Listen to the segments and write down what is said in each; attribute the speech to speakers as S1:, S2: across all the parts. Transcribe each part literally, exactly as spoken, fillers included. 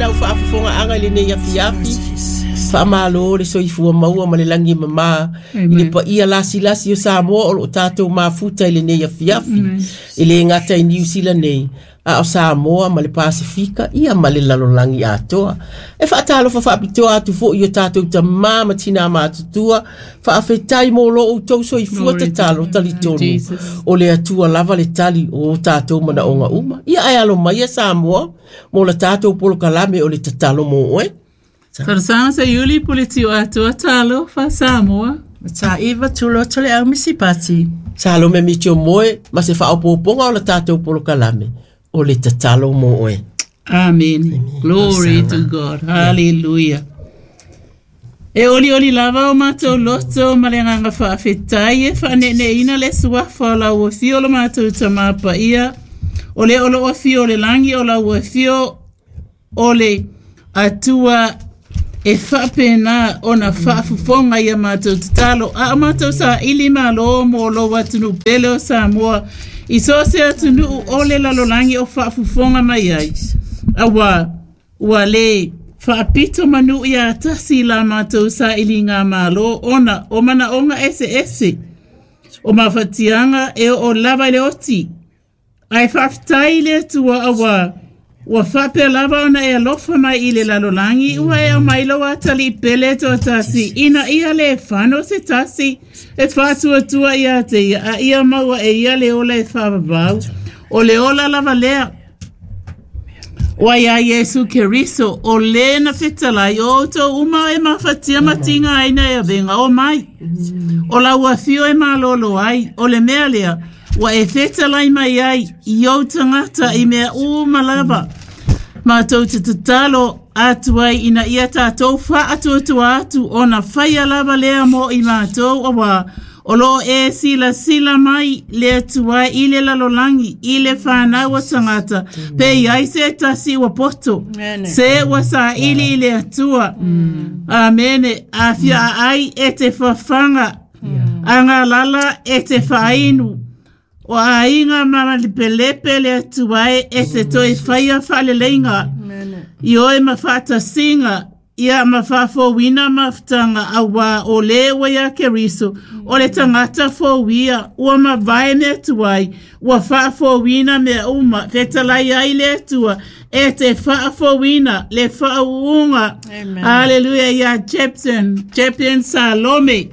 S1: lau faafofogaaga i lenei afiafi. Faamālō le soifua maua ma le lagi e mamā i le paia lasilasi o Samoa o loo tatou mafuta i lenei afiafi. E lē gata i Niu Sila nei, a o Samoa ma le Pasefika ia ma le lalolagi atoa. E faatalofa faapitoa atu foʻi i o tatou tamā ma tinā matutua. Faafetai mo lo outou soifua tatalo talitonu. O le Atua lava le tali o o tatou manaoga uma. Ia ae alo mai ia Samoa mo la tatou polokalame o le tatalo mo oe.
S2: Talosaga Seiuli Pule Tiuatoa Talofa Samoa.
S3: Mataiva Tuloto le au Misipati.
S1: Salome Mitio Moe ma se faaopoopoga o la tatou polokalame o le tatalo mo oe.
S2: Amen. Glory to God. Hallelujah. E olioli lava o matou loto ma le agaga faafetai e faaneeneeina le suafa o lau afio o lo matou Tamā Paia, o le o loo afio o le lagi o lau afio o le Atua e faapena ona faafofoga ia matou tatalo a o matou saili malo mo lou atunuu pele o Samoa i so o se atunuu o le lalolagi o faafofoga mai ai auā ua lē faapito manu iā tasi la matou sailiga malo ona o manaoga eseese o mafatiaga e oo lava i le oti ae faafetai i le Atua auā ua faapea lava ona e alofa mai i le lalolagi ua e aumai lou Atalii pele toatasi ina ia lē fano se tasi e faatuatua iā te ia a ia maua e ia le ola e faavavau o le ola lava lea ua iā Iesu Keriso o lē na fetalai o outou uma e mafatia ma tigaina e avega o mai o lau afio e malōlō ai o le mea lea ua e fetalai mai ai i ou tagata i mea uma lava matou te tatalo atu ai ina ia tatou faatuatua atu ona faia lava lea mo i matou auā o loo e silasila mai le Atua i le lalolagi i le fanau a tagata pe i ai se tasi ua poto se ua saili i le Atua. Amene. Afia ai e te fafaga agalala e te faainu o aiga ma lepelepe le Atua e e te toe faia faaleleiga i oe ma faatasiga ia ma faafouina mafutaga auā o lē ua iā Keriso o le tagata fouia ua mavae mea tuai ua faafouina mea uma fetalai ai le Atua e te faafouina le faauuga. Haleluia iā Jepson Jepson Salome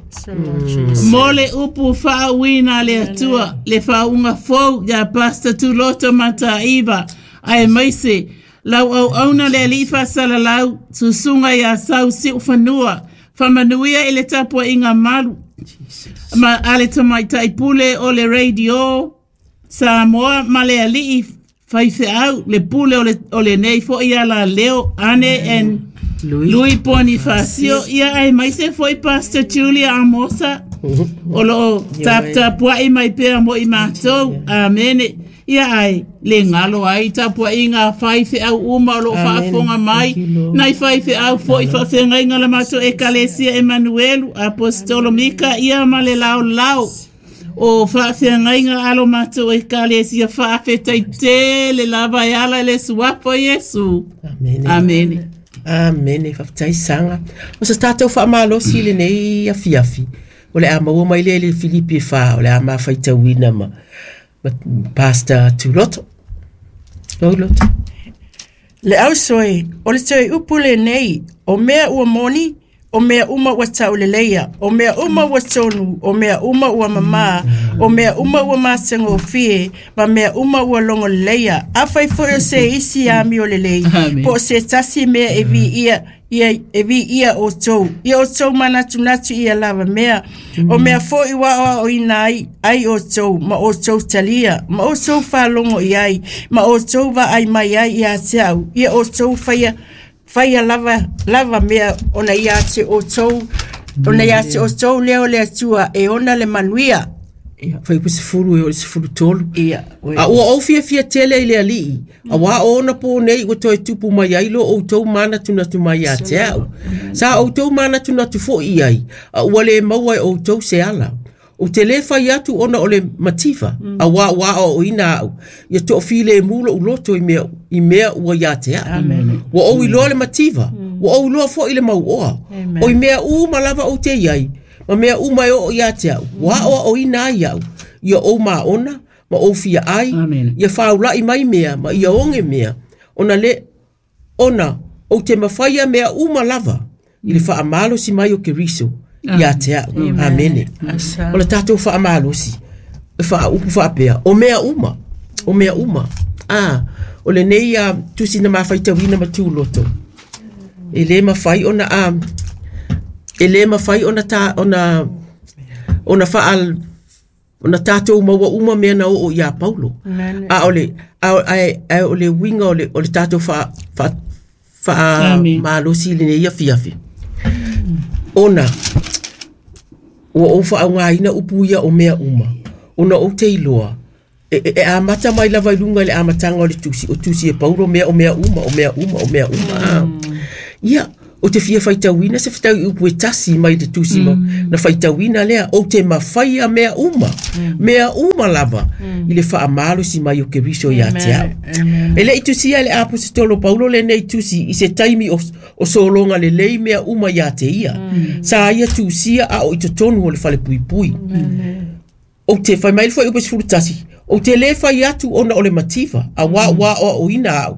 S2: mo le upu faauuina le Atua le faauuga fou iā Pastor Tuloto Mataiva aemaise lau auauna le alii faasalalau susuga iā Sau Siufanua faamanuia i le tapuaiga malu ma a le tamaitai pule o le radio Samoa ma le alii faifeau le pule o le, o lenei foʻi alaleo Ane and Lui Ponifasio ia aemaise foʻi Pastor Julia Amosa o loo taputapuaʻi mai pea mo i matou. Amene. Ia ae le galo ai tapuaiga faifeau uma o loo faafofoga mai nai faifeau foʻi faafeagaiga la matou Ekalesia Emanuelu Aposetolo Mika ia ma le laolao o faafeagaiga alo matou Ekalesia faafetai tele lava e ala i le suafa o Iesu.
S1: Amene.
S2: Amene.
S1: Amene. Faafetai Saga. O se tatou faamalosi i lenei afiafi o le a maua mai lea i le Filipi e fa o le a mafaitauina ma, ma Pastor Tuloto. Tuloto.
S3: Le ausoe, o le toe upu lenei, o mea ua moni, o mea uma ua tauleleia, o mea uma ua tonu, o mea uma ua mamā, o mea uma ua matagofie, ma mea uma ua logoleleia. Afai foi o se isi amio lelei,
S2: Amen.
S3: po o se tasi mea e viia ia e viia outou ia outou manatunatu ia lava mea o mea foʻi ua aoaoina ai ai outou ma outou talia ma outou faalogo i ai ma outou vaai mai ai ia te au ia outou faia faia lava lava mea ona ia te outou ona ia te outou lea o le Atua e ona le manuia.
S1: Ia, fuaiupu sefulu e oo i le sefulu tolu.
S3: Ia oe.
S1: A ua ou fiafia tele i le Alii, auā o ona pō nei ua toe tupu mai ai lo outou manatunatu mai ia te au. Sa outou manatunatu foʻi i ai, a ua lē maua e outou se ala. O te le fai atu ona o le mativa mm. a wā wā o ina au ia to file mulo uloto i mea i mea ua ia te au. Ua ou iloa le mativa mm. ua ou iloa foi le mau oa o i mea uma lava o te iai ma mea uma e o ia te au ua o o ina ai au ia ou maona ma ou fia ai ia faulai mai mea ma ia onge mea ona le ona o te mawhaia mea uma lava i le whaamalo si mai o Keriso ia te au. Amene. O le tātou whaamalosi whaaupu whaapea o mea uma o mea uma ah o le nei a tusi na mawhaitawina ma tūloto e le mawhai ona a e le mawhai ona ta ona ona whaal ona tātou maua uma mea na o ia Paulo a o le a a o le winga o le o le tātou wha wha wha malosi le nei afiafi ona ua ou whaongaina upu ia o mea uma ona o te iloa e, e, e amata mai lava i lunga i le amatanga o le tusi o tusi e Paulo mea o mea uma o mea uma o mea uma mm. Ia o te fia whaitauina se whatau i upu e tasi mai te tusi mm. na whaitauina lea o te mawhaia mea uma mm. mea uma lava mm. i le whaamalo si mai o Keriso ia te au. E le i tusia le apositolo Paulo le nei tusi i se taimi o, o solonga le lei mea uma ia te ia mm. Sa ia tusia a o i totonu o le whale pui pui mm. O te whai mai foi upe sefulu tasi o te le whai atu ona o le mativa a wā wā o o ina au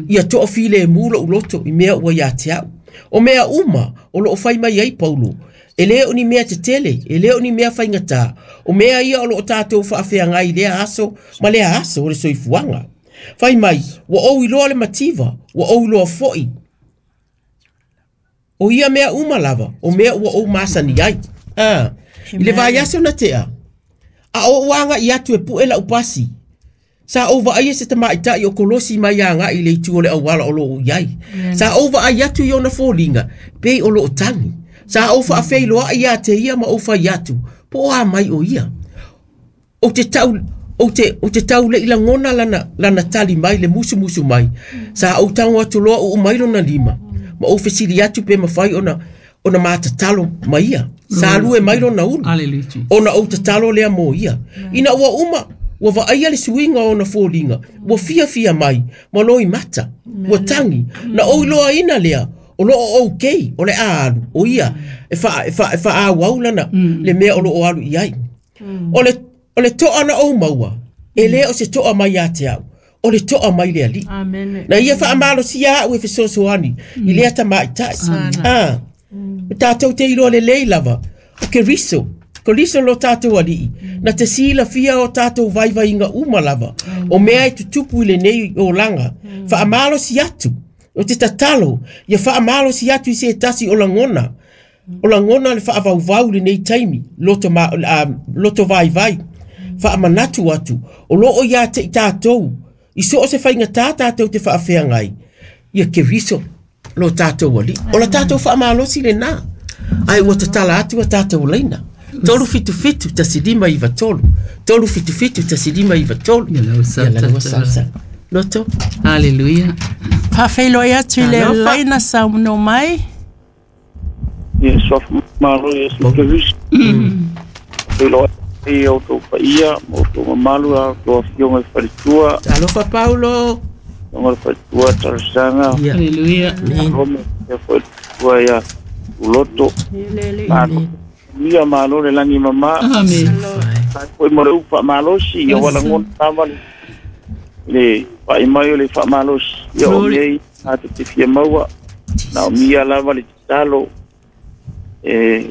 S1: ia toa file e mulo uloto i mea ua ia te au o mea uma o loo whai mai ai Paulo e le o ni mea te tele e le o ni mea whaingata o mea ia o loo tātou whaafeangai lea aso ma lea aso o le soifuanga whai mai ua ou iloa le mativa ua ou iloa foi o ia mea uma lava o mea ua ou masani ai ah i le vai aso na tea a o uanga i atu e pu'e lau pasi sa ou vaai se tamaitai o kolosi mai aga i le itu o le auala o loo iai sa ou vaai atu i ona foliga pei o loo tagi sa ou faafeiloai ia te ia ma ou fai atu po o a mai o ia o te tau o te o te tau le lagona lana lana tali mai le musumusu mai sa ou tago atu loa uu mai lona lima ma ou fesili atu pe mafai ona ona matatalo mai ia sa lue mai lona ulu ona ou tatalo lea mo ia ina ua uma ua vaaia le suiga o ona foliga ua fiafia mai ma loi mata ua tagi na ou iloaina lea o loo okay o le a alu o ia e fa e fa e faaauau lana le mea o loo alu i ai o le o le toa na ou maua e lē o se toa mai ia te au o le toa mai le alii na ia faamalosia au e fesoasoani i lea tamaitai ah o tātou te iloa lelei lava o Keriso Keriso lo tātou alii na te silafia o tātou vaivaiga uma lava o mea e tutupu i lenei olaga faamalosi atu o te tatalo ia faamalosi atu i se tasi o lagona o lagona le faavauvau lenei taimi loto, ma, uh, loto vaivai faamanatu atu o loo ia te i tātou i so o se faigatā tātou te faafeagai ia Keriso lo tātou alii o la tātou faamalosi lenā ai ua tatala atu a tātou laina tolu fitu fitu tasi lima iva tolu tolu fitu fitu tasi lima iva tolu
S2: Ia lau
S1: ia lau salsa loto
S2: Hallelujah.
S3: Faafeiloai atu i le
S1: Alofa.
S3: laina sauno mai
S4: Ia sofu malo ia su Keriso. Pelo e o tō paia, o tō mamalu a tō afioga i faletua,
S1: alofa Paulo
S4: afioga i faletua Tarasanga,
S1: ia
S2: Hallelujah.
S1: amen
S4: Rome, ia foi tua ia uloto, malo, mia malo le langi mama,
S2: Amen.
S4: foi mo le upa malosi, ia wala ngona tava le, le whai mai o le wha malosi, ia o
S2: Glory.
S4: mei, a te te fia maua, na o mia lava le tatalo, e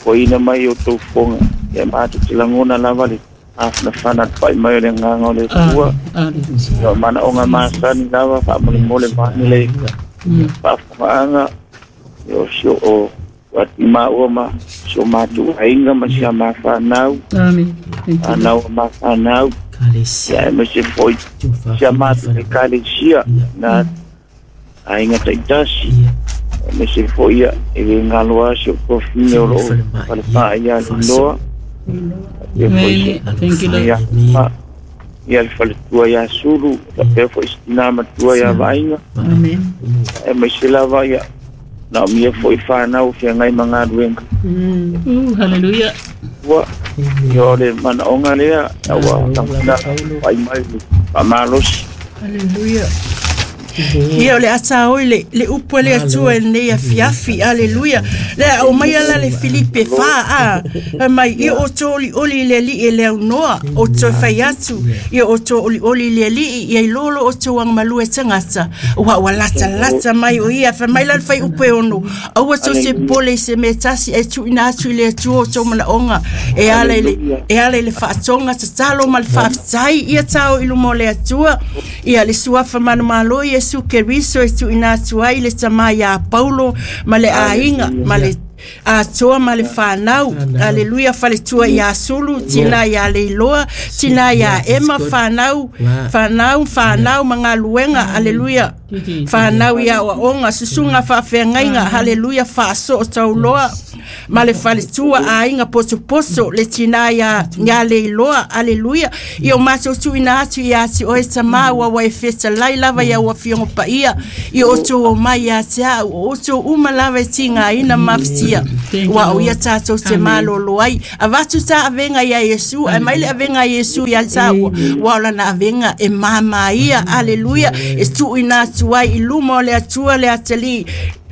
S4: koina mai o tō fonga, ia mātou te langona lava le afanafana te whai mai o le nganga o le tua,
S2: Hallelujah.
S4: ia o mana o ngā māsani lava, wha mole mole mani le whaafongaanga, ia o sio o ati maua ma sio mātou ainga ma sia mawhanau,
S2: Amen. Thank you.
S4: anau ma whanau,
S1: Kalesia
S4: ia e ma se foi sia mātou e kalesia, na ainga taitasi,
S1: ia
S4: e ma se foi ia e le ngalo a sio kofine o loo whalepaa ia loa, ia foi se
S2: Amen. Thank you, Lord.
S4: ia ma ia le faletua ia sulu, la pea foi se tina matua ia vainga,
S2: Amen.
S4: e mai se lava ia Na o mia foi whanau whiangai mga ruenga.
S2: Uh, hallelujah.
S4: Ua, ia o le mana onga lea, aua tanguna pai mai pa malosi.
S3: Hallelujah. Ia o le ata oi le le upu le atua nei a fiafi. Hallelujah. Le o mai ala le Filipe fa a mai i o toli oli le li e le noa o to faiatu i o to oli oli le li i lolo o to ang malue tangata wa wa lata lata mai o ia fa mai la fai upu ono au to se pole se metasi e tu ina tu le tu o to mana onga e ala le e ala le faatonga tatalo ma le faafetai ia tao i lumo le atua ia le suafa manumalo Yesu Keriso e tu ina atu ai le tama ia Paulo ma le aiga ma le atoa ma le whanau. Hallelujah. Faletua ia Sulu, tina ia Leiloa, tina ia Emma, whanau, whanau, whanau, mga luenga. Hallelujah. Whanau ia oaonga, susunga whaafeangaiga. Hallelujah. Whaaso o tauloa ma le faletua aiga posoposo le tina ia ia Leiloa. Hallelujah. Ia o matou tuuina atu ia ati oe tamā ua ua e fetalai lava ia ua fiogo paia ia outou o mai ia te a'u o outou uma lava e tigaina mafatia ua o ia tatou te malolo ai avatu ta avega ia Iesu ae mai le avega a Iesu ia ta'ua ua o lana avega e māmā ia. Hallelujah. E tuuina atu ai i luma o le Atua le atalii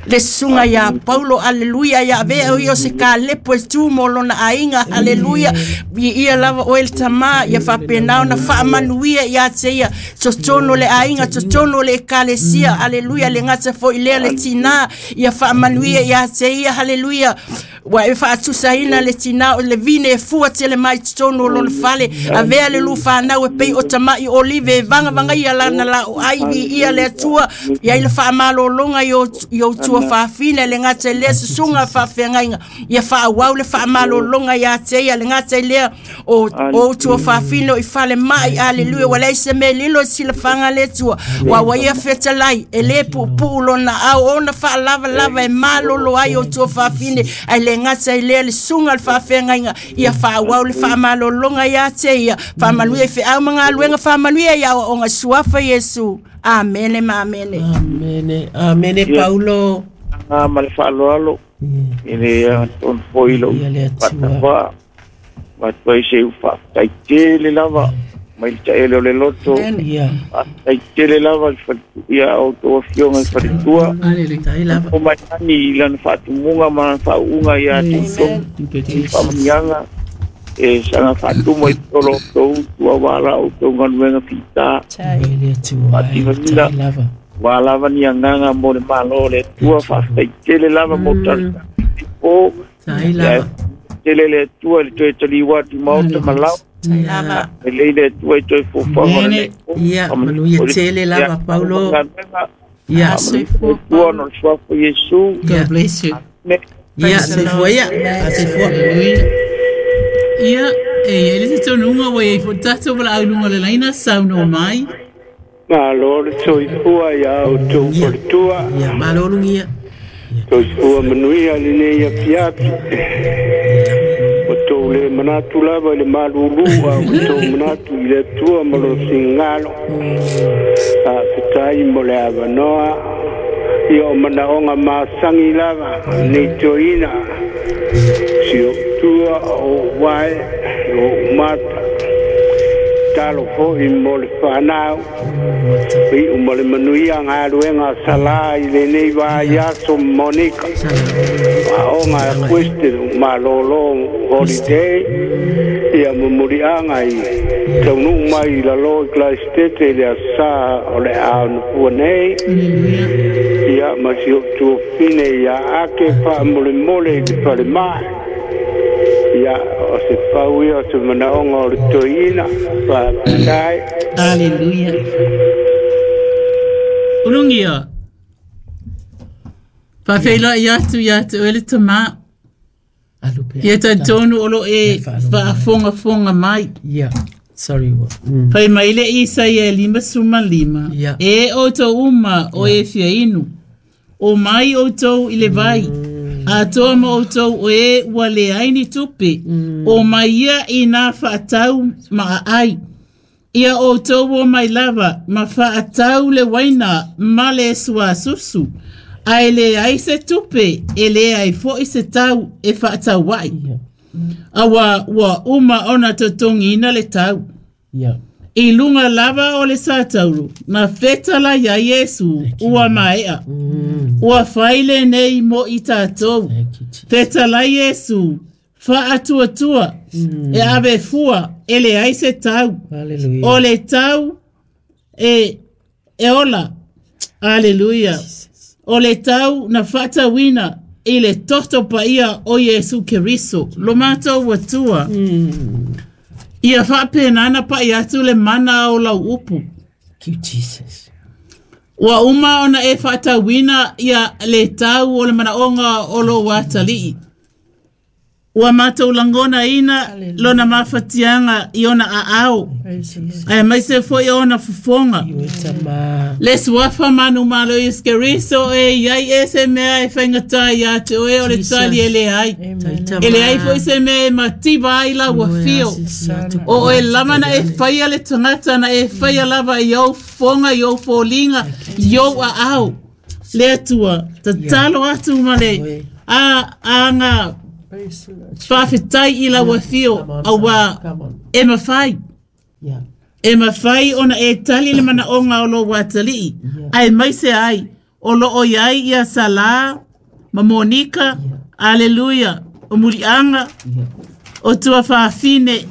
S3: le susuga iā Paulo. Aleluia. Ia avea o ia o se kalepo e tu mo lona aiga. Aleluia. Ia lava oe le tamā ia faapena ona faamanuia ia te ia totonu le aiga totonu le ekalesia. Aleluia. Le gata fo'i lea le tinā ia faamanuia ia te ia. Aleluia. Ua e faatusaina le tinā o le vine e fua tele mai totonu o lona fale avea le lufanau e pei o tama'i olive e vagavagaia lana la'o ai viia le Atua ia i le faamalologa i o tua faafina le gata i lea susuga faafeagaiga ia faauau le faamalologa ia te ia le gata i lea o o tua faafina o i fale mai. Aleluia. Ua leai se mea lilo i silafaga le Atua ua ua ia fetalai e lē puupuu lona ao ona faalavalava e malolo ai o tua faafine ai le gata i lea le susuga le faafeagaiga ia faauau le faamalologa ia te ia faamanuia i feau ma galuega faamanuia ia aoaoga suafa Iesu. Amene ma amene.
S1: Amene. Amene Paulo.
S4: Ah ma le faaloalo i le tonu foi lou faatafā atu ai se ufaafetai tele lava mai le taele o le loto faafetai tele lava le ia outou afioga i faletua o mai lani i lana faatumuga ma lana faauuga ia te outou faamanuiaga e saga faatumo i tolo outou utu auā la outou galuega fitā faativalila ua lava ni agaga mo le malo o le Atua faafetai tele lava mo talosaga po tele le Atua i le toe taliu atu i maota ma lao e lei le Atua i toe fofoga o le
S1: ia manuia tele lava Paulo ia
S4: Atua ona o le suafa Iesu.
S2: God bless you.
S1: Ia soifua ia soifua.
S2: Ia e ia le tonuga ua iai fo'i tatou valaauluga o le laina saunoa mai.
S5: Malo le soifua ia outou faletua.
S1: Ia malo lugia.
S5: Soifua manuia lenei afiafi. O tou le manatu lava i le malulu a o tou manatu i le Atua ma lo sigalo. Faafetai mo le avanoa. Ia o manaoga masagi lava nei toeaina. Si ou tua o ou ae o ou mata. Talo fo'i mo le whanau. Iu mo le manuia galuega salā i lenei vaiaso Monika. Aoga a Quisted malōlō holiday. Ia mumuliaga i taunuu mai i lalō i Klaistete i le asā o le aonofua nei. Ia ma si ou tuafine ia ake faamolemole i le falemai. Ia o se pau ia o se manaoga o le toeaina faafetai.
S2: Hallelujah. Ulugia. Faafeiloai atu ia te oe le tamā. Ia talitonu o lo e faafogafoga mai.
S1: Yeah. Sorry. Mm.
S2: Fai mai le Isaia e lima suma lima.
S1: Yeah.
S2: E outou uma o e fia inu. O mai outou i le vai. Atoa ma outou o e ua leai ni tupe. O mai ia i nā faatau ma ai. Ia outou o mai lava ma faatau le waina ma le suasusu. Ae leai se tupe e leai fo'i se tau e fa'ataua'i auā ua uma ona totogiina le tau. I luga lava o le satauro na fetalai ai Iesu ua maea. Ua fai lenei mo i tatou. Fetalai Iesu fa'atuatua e ave fua e leai se tau. O le tau e e ola. Aleluia. O le tau na fa'atauina i le toto paia o Iesu Keriso lo matou Atua. Ia fa'apenana pa'i atu le mana o lau upu.
S1: Thank you, Jesus.
S2: Ua uma ona e fa'atauina ia le tau o le mana'oga o lou atali'i. Ua matou lagonaina lona mafatiaga i ona aao ae maise fo'i ona fofoga. Le suafa manumalo Iesu Keriso e iai e se mea e faigatā iā te oe o le tali e leai. E leai fo'i se mea e mativa ai lau afio. O oe lava na e faia le tagata na e faia lava i ou fofoga i ou foliga i ou aao. Le Atua tatalo atu ma le a aga fa'afetai i lau afio auā e mafai. E mafai ona e tali le mana'oga o lou atali'i ae maise ai o lo'o iai ia Salā ma Monika. Aleluia. O muli'aga o tuafafine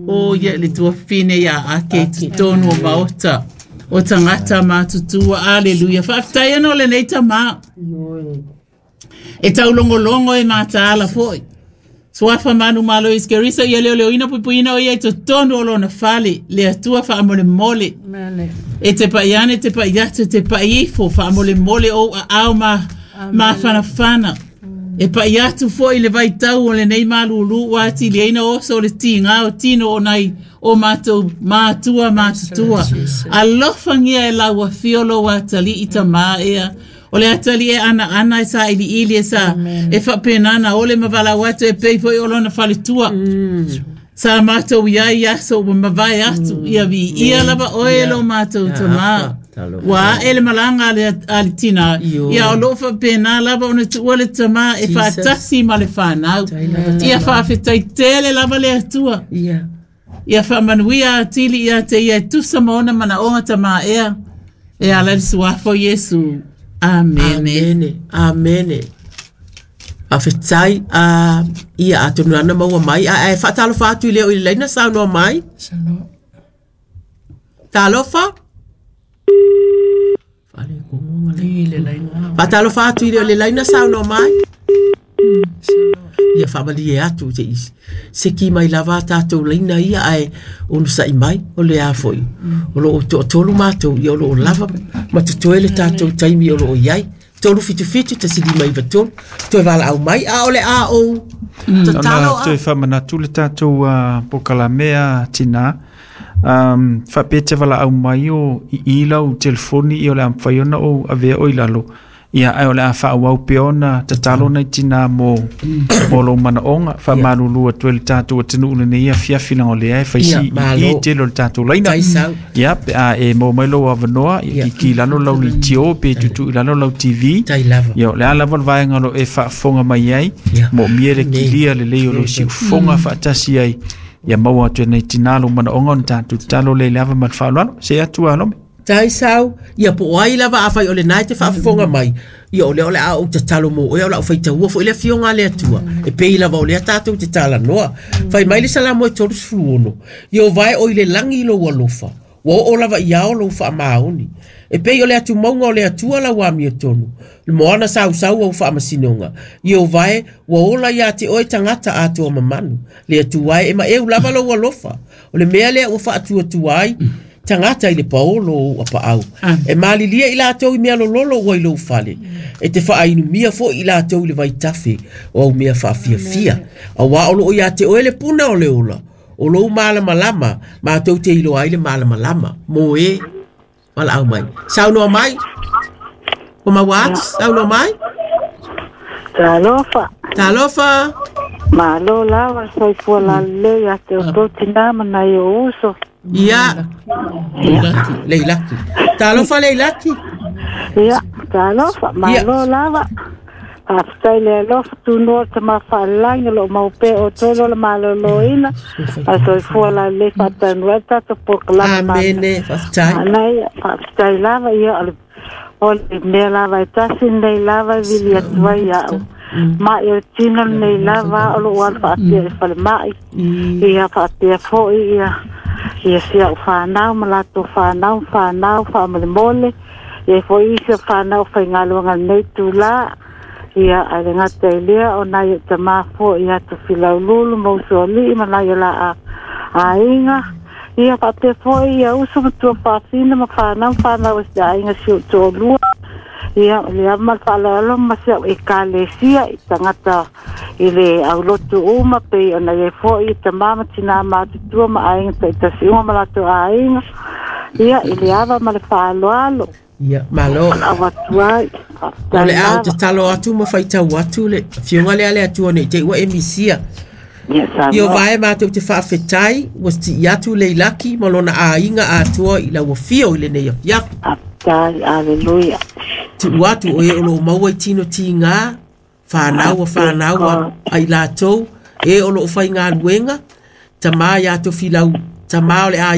S2: o ia le tuafafine ia ake totonu o maota o tagata matutua. Aleluia. Fa'afetai ana o lenei tamā e taulogologo e mataala fo'i. Suafa manumalo Iesu Keriso ia leoleoina puipuiina o ia i totonu o lona fale. Le Atua fa'amolemole e te pa'iane te pa'i atu te pa'i ifo fa'amolemole ou a'ao ma mafanafana. E pa'i atu fo'i le vaitau o lenei malūlū ua atiliaina oso o le tigā o tino o nai o matou matua matutua. Alofagia e lau afio lou atali'i tamā ea. O le atali e ana ana e sa ili ili e sa e fa'apenana ole ma valau atu e pei fo'i o lona faletua. Sa matou iai aso ua mavae atu ia vi'ia lava oe lo matou tamā. Ua a'e le malaga a le tinā ia o lo'o fa'apenā lava ona tu'ua le tamā e fa'atasi ma le fanau. Ia fa'afetai tele lava le Atua. Ia fa'amanuia atili ia te ia e tusa ma ona mana'oga tamā ea. E ala le suafa o Iesu. Amene.
S1: Amene. Amene. Afetai a ia atonu ana maua mai a e fa'atalofa atu i leo i le laina saunoa mai. Talofa. Fa'atalofa atu i leo i le laina saunoa mai. Ia fa'amalie atu te isi. Se ki mai lava tātou laina ia ae onu sa'i mai o le a fo'i. O loo to'atolu matou ia o loo lava ma totoe le tātou taimi o loo iai. Tolu fitu fitu tasi lima iva tolu. Toe valaau mai a o le a ou. Tatalo
S6: a. Toe fa'amanatu le tātou pokalamea tinā. Um, fa'apea te valaau mai o i i lau telefoni i o le a mafai ona ou avea o i lalo. Ia ae o le a fa'auau pea ona tatalo nai tinā mo mo lou mana'oga fa'amalulu atu ai le tatou atunuu lenei afiafi laga o lea e faisi i tele o le tatou laina. Ia pe a e maua mai lou avanoa ia kiki i lalo lau litio pe tutu'i lalo lau T V. Ia o le a lava le vaega o lo e fa'afofoga mai ai mo'omia le kilia lelei o lou si'ufofoga fa'atasi ai. Ia maua atu e nei tinā lou mana'oga ona tatou tatalo lea i le ava ma le fa'aloalo. Se atu a Lome.
S1: Tai sau, ia po ai lava a fai o le nai te fa'afofoga mai. Ia o lea o le a ou tatalo mo oe o la'u faitaua fo'i le afioga a le Atua. E pei lava o lea tatou te talanoa. Fai mai le Salamo e tolu sefulu ono. Ia o vae o i le lagi i lou alofa. Ua oo lava i ao lou fa'amaoni. E pei o le atumauga o le Atua lau amiotonu. Le moana sausau au fa'amasinoga. Ia o vae ua ola iā te oe tagata atoa mamanu. Le Atua e ma'eu lava lou alofa. O le mea lea ua fa'atuatua ai tagata i le paolo o apa'au. E malilia i latou i mea lololo ua i lou fale. E te fa'ainumia fo'i i latou i le vaitafe o au mea fa'afiafia. Auā o lo'o iā te oe le puna o le ola. O lou malamalama, matou te iloa ai le malamalama. Mo e, valaau mai. Saunoa mai. O maua atu, saunoa mai.
S7: Talofa.
S1: Talofa.
S7: Malo lava, soifua lalelei ia te outou tinā ma nai o uso.
S1: Ia. Leilaki. Talofa Leilaki.
S7: Ia, Talofa, malo lava. Faafetai le alofa tunoa le tama faalelagi o loo maupea outou lo le malōlōina ma le soifua lalelei faataunuu ai le tatou polokalame.
S1: Amene, faafetai.
S7: Manaia, faafetai lava ia o le o le mea lava e tasi lenei lava e vili atu ai iaʻu maʻi o le tino lenei lava o lo'u alu faapea i le falemaʻi ia faapea foʻi ia ia si a'u fanau ma latou fanau ma fanau faamolemole ia foʻi isi o fanau faigaluega lenei tulā ia ae le gata i lea o nai o'u tamā foʻi ia Tofilaululu ma usoalii ma nai o la aiga ia faapea foʻi ia uso ma tuafaafina ma fanau ma fanau e se aiga si o'u toalua ia le ama le faaaloalo ma si a'u ekalesia i tagata i le aulotu uma pei ona iai fo'i tamā ma tinā matutua ma aiga ta'itasi uma ma latou aiga ia i le ava ma le faaaloalo.
S1: Ia, malo.
S7: Au atu ai.
S1: O le a ou tatalo atu ma faitau atu le afioga lea le Atua nei te i ua e misia.
S7: Ia
S1: Io
S7: Samoa.
S1: Vae matou te faafetai ua si'i atu Leilaki ma lona aiga atoa i lau afio i lenei afiafi.
S7: Faafetai, aleluia.
S1: Tu'u atu o e o loo maua i tino tigā fanau a fanau a ai latou e o loo faigaluega tamā iā Tofilau tamā o le